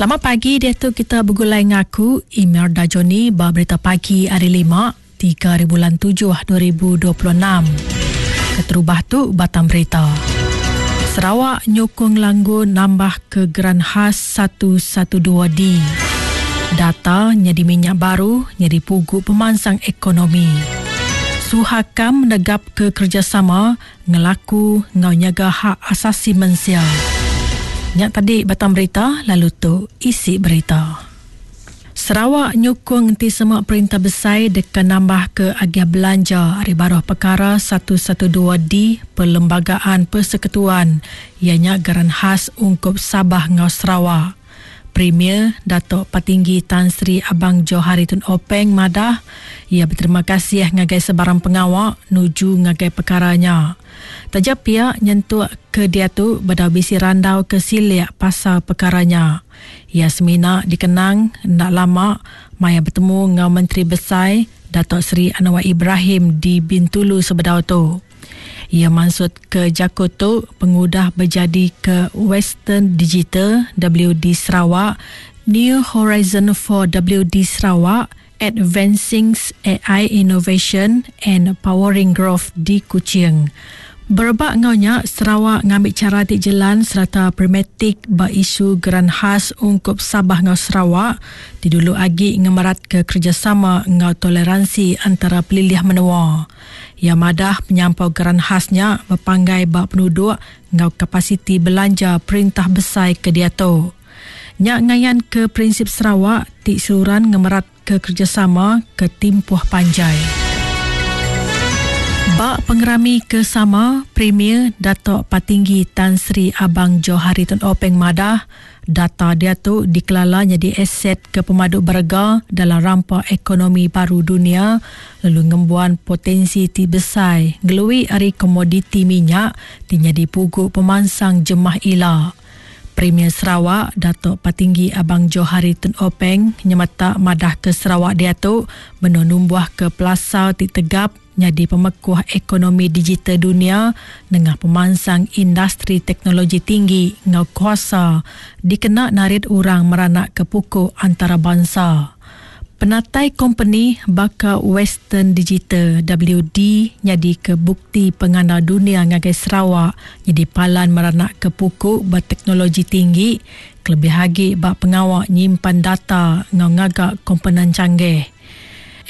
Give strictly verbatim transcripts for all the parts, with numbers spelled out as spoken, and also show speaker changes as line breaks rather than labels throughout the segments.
Selamat pagi dia tu kita bergulai ngaku Imelda Johnny ba berita pagi hari lima tiga hari bulan tujuh dua ribu dua puluh enam. Keterubah tu batang berita. Sarawak nyukung langgur nambah ke geran khas satu satu dua D. Data nyadi minyak baru nyadi pugu pemansang ekonomi. Suhakam menegap ke kerjasama ngelaku ngau nyaga hak asasi manusia. Nyak tadi batang berita, lalu tu isi berita. Sarawak nyukung enti semua perintah besar deka nambah ke agiah belanja hari baruh perkara satu satu dua D Perlembagaan Persekutuan ianya geran khas ungkup Sabah ngau Sarawak. Premier Datuk Patinggi Tan Sri Abang Johari Tun Openg madah ia berterima kasih ngagai sebarang pengawak nuju ngagai perkaranya. Tajap pihak nyentuk ke dia tu beda bisi randau ke siliak pasal perkaranya. Ia semina dikenang ndak lama maya bertemu ngau Menteri Besar Datuk Seri Anwar Ibrahim di Bintulu sebedau tu. Ia maksud ke Jakut tu pengudah berjadi ke Western Digital W D Sarawak, New Horizon for W D Sarawak, Advancing A I Innovation and Powering Growth di Kuching. Berebak ngaunya Sarawak ngambil cara tik jalan serta pragmatik ba isu geran khas ungkup Sabah ngau Sarawak didulu agi ngemerat ke kerjasama ngau toleransi antara pelilih menua. Ia madah penyampau geran khasnya berpanggai ba penduduk ngau kapasiti belanja perintah besar ke dia tu. Nyak ngayan ke prinsip Sarawak tik seluruhan ngemerat ke kerjasama ke timpuh panjai. Bak pengerami kesama Premier Datuk Patinggi Tan Sri Abang Johari Tun Openg madah data dia tu dikelala jadi aset ke pemaduk berega dalam rampa ekonomi baru dunia lalu ngembuan potensi ti besar ngelui ari komoditi minyak ti jadi pugu pemansang jemah ila. Premier Sarawak Datuk Patinggi Abang Johari Tun Openg nyemetak madah ke Sarawak dia tu menumbuh ke pelasar ti tegap jadi pemekuh ekonomi digital dunia dengan pemansang industri teknologi tinggi ngau kuasa dikena narit orang meranak ke pukul antarabangsa. Penatai company baka Western Digital W D jadi ke bukti pengandal dunia ngagai Sarawak jadi palan meranak ke pukul berteknologi tinggi kelebih lagi bak pengawak nyimpan data ngau ngagak komponen canggih.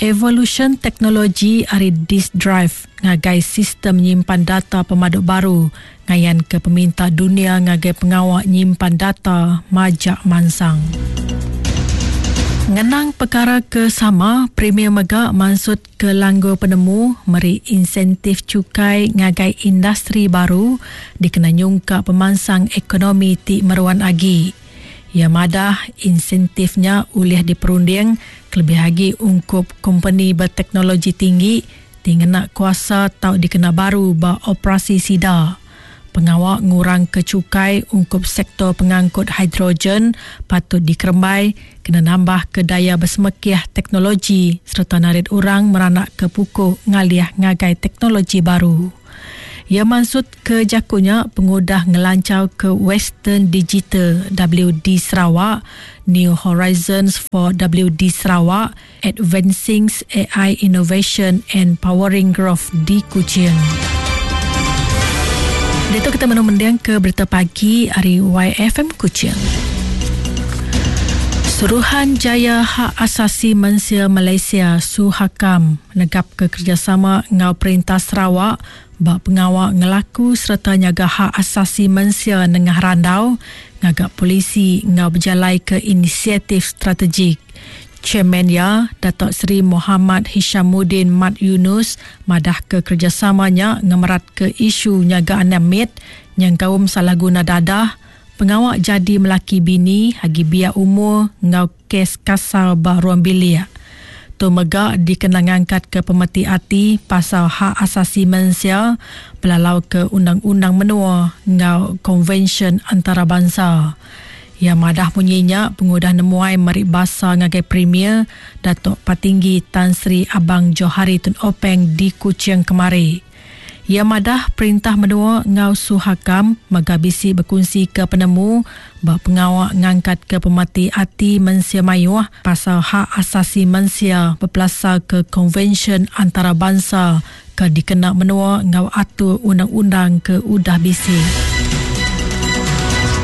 Evolution teknologi ari disk drive ngagai sistem nyimpan data pemaduk baru ngayan ke peminta dunia ngagai pengawak nyimpan data majak mansang. Ngenang perkara ke sama, Premier Mega maksud ke langgur penemu meri insentif cukai ngagai industri baru dikena nyungkak pemansang ekonomi ti meruan agi. Ia madah insentifnya ulih diperunding kelebih lagi ungkup company berteknologi tinggi ti ngena kuasa tau dikena baru ba operasi sida. Pengawak ngurang ke cukai ungkup sektor pengangkut hidrogen patut dikerembai kena nambah ke daya bersemekiah teknologi serta narit orang meranak ke pukul ngaliah ngagai teknologi baru. Ia maksud ke jakunya pengudah ngelancau ke Western Digital W D Sarawak, New Horizons for W D Sarawak, Advancing A I Innovation and Powering Growth di Kuching. Itu kita menumendang ke berita pagi hari Y F M Kuching. Suruhanjaya Hak Asasi Manusia Malaysia Suhakam negap ke kerjasama ngau Perintah Sarawak bak pengawak ngelaku serta nyaga hak asasi manusia nengah randau ngagak polisi ngau berjalai ke inisiatif strategik. Chairman ya Datuk Seri Muhammad Hishamuddin Mat Yunus madah ke kerjasamanya ngemerat ke isu nyaga anak mit yang kaum salah guna dadah pengawak jadi melaki bini hagi biak umur ngau kes kasar bah ruang bilik. Tu mega dikena ngangkat ke pemeti ati pasal hak asasi manusia belalau ke undang-undang menua ngau konvensyen antarabangsa. Ya madah bunyinya pengudah nemuai meri basa ngagai Premier Datuk Patinggi Tan Sri Abang Johari Tun Openg di Kuching kemari. Ia madah perintah menua ngau Suhakam mega bisi berkongsi ke penemu ba pengawak ngangkat ke pemati ati mensia mayuh pasal hak asasi mensia berpelasar ke konvensyen antarabangsa ke dikena menua ngau atur undang-undang ke udah bisi.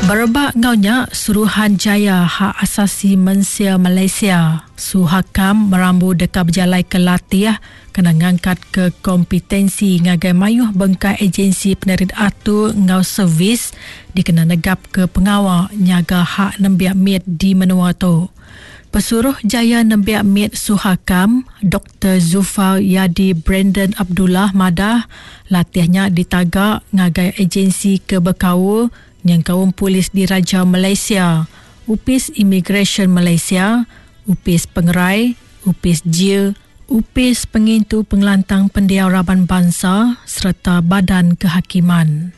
Berebak ngaunya Suruhanjaya Hak Asasi Mensia Malaysia Suhakam merambu deka berjalai ke latih kena ngangkat ke kompetensi ngagai mayuh bengkai agensi penerit atur ngau servis dikena negap ke pengawal nyaga hak nembiak mit di menua tu. Pesuruh Jaya Nembiak Mit Suhakam, Doktor Zufar Yadi Brandon Abdullah madah latihnya ditagak ngagai agensi ke berkaul yang kaum polis diraja Malaysia, Upis Immigration Malaysia, Upis Pengerai, Upis Jil, Upis Pengintu Pengelantang Pendiau Raban Bangsa serta Badan Kehakiman.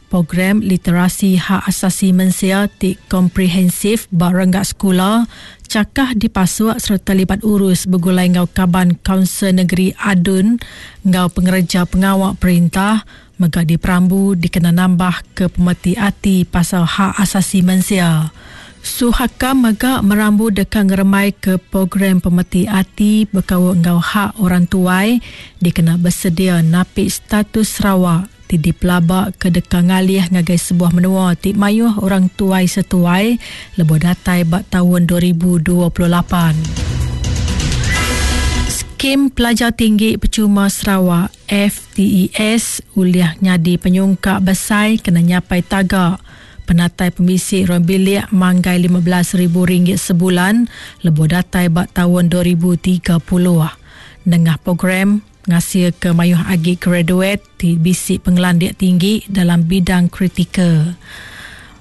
Program Literasi Hak Asasi Mensia ti komprehensif barenggak sekolah, cakah dipasuk serta libat urus bergulai ngau kaban Kaunsil Negeri Adun ngau pengereja pengawak perintah mega diperambu dikena nambah ke pemeti ati pasal hak asasi mensia. Suhakam mega merambu deka ngeremai ke program pemeti ati berkaul ngau hak orang tuai dikena bersedia napik status Sarawak ti dipelabak ke deka ngalih ngagai sebuah menua ti mayuh orang tuai setuai lebuh datai bak tahun dua ribu dua puluh lapan. Skim Pelajar Tinggi Percuma Sarawak F T E S uliah nyadi penyungkak besai kena nyapai tagak penatai pemisi ruang bilik manggai lima belas ribu ringgit sebulan lebuh datai bak tahun dua ribu tiga puluh. Nengah program ngasih ke mayuh agi graduate ti bisi pengelandik tinggi dalam bidang kritikal.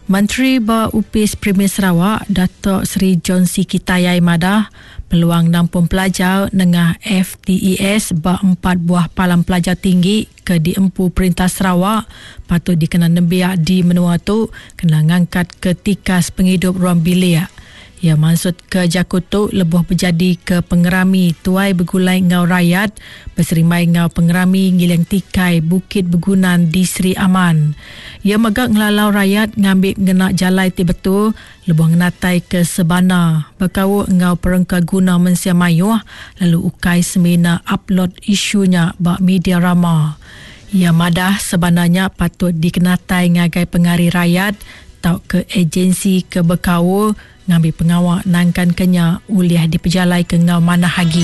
Menteri ba Upis Premier Sarawak, Datuk Seri John Sikie Tayai madah peluang nampung pelajar nengah F T E S ba empat buah palam pelajar tinggi ke diempu Perintah Sarawak patut dikena nembiak di menua tu kena ngangkat ke tikas penghidup ruang bilik. Ia maksud ke jaku tu lebuh berjadi ke pengerami tuai bergulai ngau rakyat berserimai ngau pengerami ngiling tikai Bukit Begunan di Seri Aman. Ia megak ngelalau rakyat ngambil ngena jalai ti betul lebuh ngenatai ke sebana berkaul ngau perengka guna mensia mayuh lalu ukai semina upload isunya bak media rama. Ia madah sebenarnya patut dikenatai ngagai pengari rakyat atau ke agensi ke berkaul ngambil pengawak nangkan kenya uliah dipejalai ke ngau mana hagi.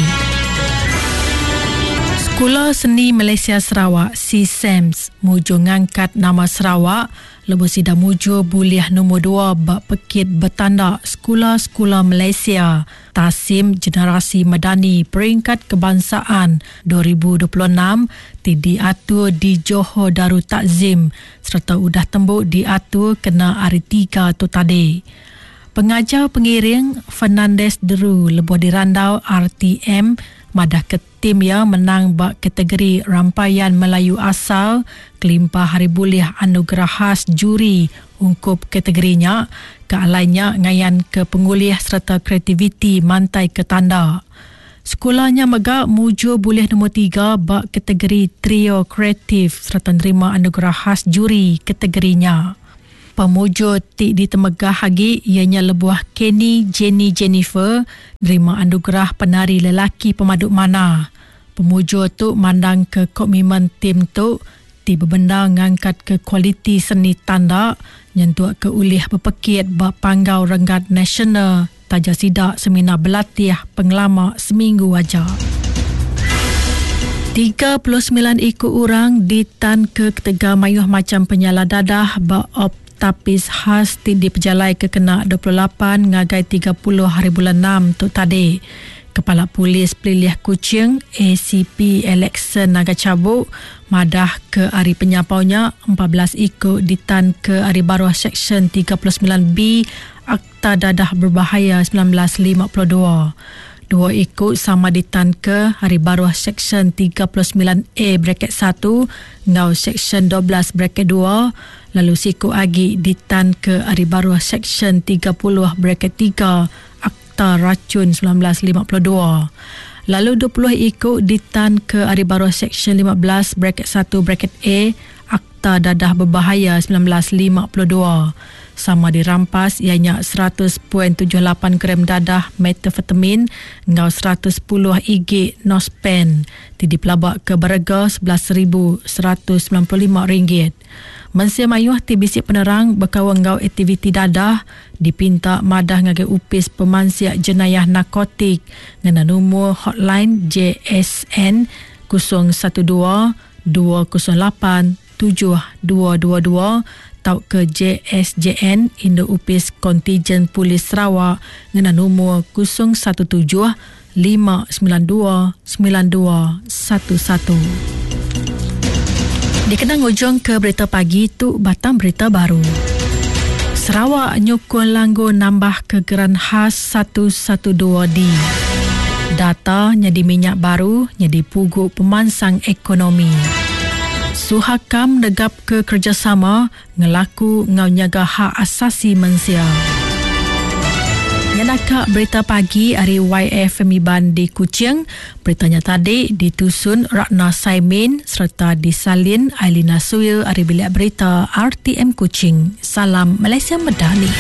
Sekolah Seni Malaysia Sarawak C S E M S muju ngangkat nama Sarawak lebuh sida muju buliah nombor dua bak pekit bertanda Sekolah-Sekolah Malaysia Tasim Generasi Madani Peringkat Kebangsaan dua ribu dua puluh enam ti diatur di Johor Darul Takzim serta udah tembuk diatur kena hari tiga tu tadi. Pengajar pengiring Fernandez Deru lebuh dirandau R T M madah ke tim ya menang bak kategori rampayan Melayu asal kelimpah hari bulih anugerah khas juri ungkup kategorinya ke alainya ngayan ke pengulih serta kreativiti mantai ke tanda. Sekolahnya mega muju bulih nombor tiga bak kategori trio kreatif serta nerima anugerah khas juri kategorinya. Pemujur ti ditemegah hagi ianya lebuah Kenny Jenny Jennifer nerima anugerah penari lelaki pemaduk mana. Pemujur tu mandang ke komitmen tim tu ti berbenda ngangkat ke kualiti seni tanda nyentuk ke ulih berpekit bak panggau renggat nasional taja sidak seminar berlatih pengelama seminggu aja. tiga puluh sembilan ikut orang ditan ke ketegal mayuh macam penyalah dadah bak op tapis khas ti dipejalai ke kena dua puluh lapan ngagai tiga puluh hari bulan enam tu tadi. Kepala Polis Pelilih Kuching A C P Alexson Naga Cabuk madah ke hari penyapaunya empat belas ikut ditan ke hari baruh Seksyen tiga puluh sembilan B Akta Dadah Berbahaya sembilan belas lima puluh dua. Dua ikut sama ditan ke hari baruh Seksyen tiga puluh sembilan A bracket satu ngau Seksyen dua belas bracket dua lalu siku agi ditan ke hari baruh Seksyen tiga puluh bracket tiga Akta Racun sembilan belas lima puluh dua. Lalu dua puluh iku ditan ke ari baruh Seksyen lima belas bracket satu bracket A Akta Dadah Berbahaya sembilan belas lima puluh dua. Sama dirampas ianya seratus perpuluhan tujuh lapan gram dadah metafetamin enggau seratus sepuluh igi nospen ti dipelabak ke berega sebelas ribu seratus sembilan puluh lima ringgit. Mensia mayuh ti bisi penerang berkaul enggau aktiviti dadah dipinta madah ngagai Upis Pemansik Jenayah Narkotik ngena nombor hotline J S N kosong satu dua dua kosong lapan tujuh dua dua dua tauka J S J N Induk Upis Kontijen Polis Sarawak ngena nombor kosong satu tujuh lima sembilan dua sembilan dua satu satu. Dikenang ujung ke berita pagi tu batang berita baru. Sarawak nyukung langgur nambah ke geran khas satu satu dua D. Data nyadi minyak baru nyadi pugu pemansang ekonomi. Suhakam negap ke kerjasama ngelaku ngau nyaga hak asasi mensia. Nyanaka berita pagi hari Y F M Iban di Kuching. Beritanya tadi ditusun Ratna Saimin serta disalin Ailina Suil hari bilik berita R T M Kuching. Salam Malaysia Medani.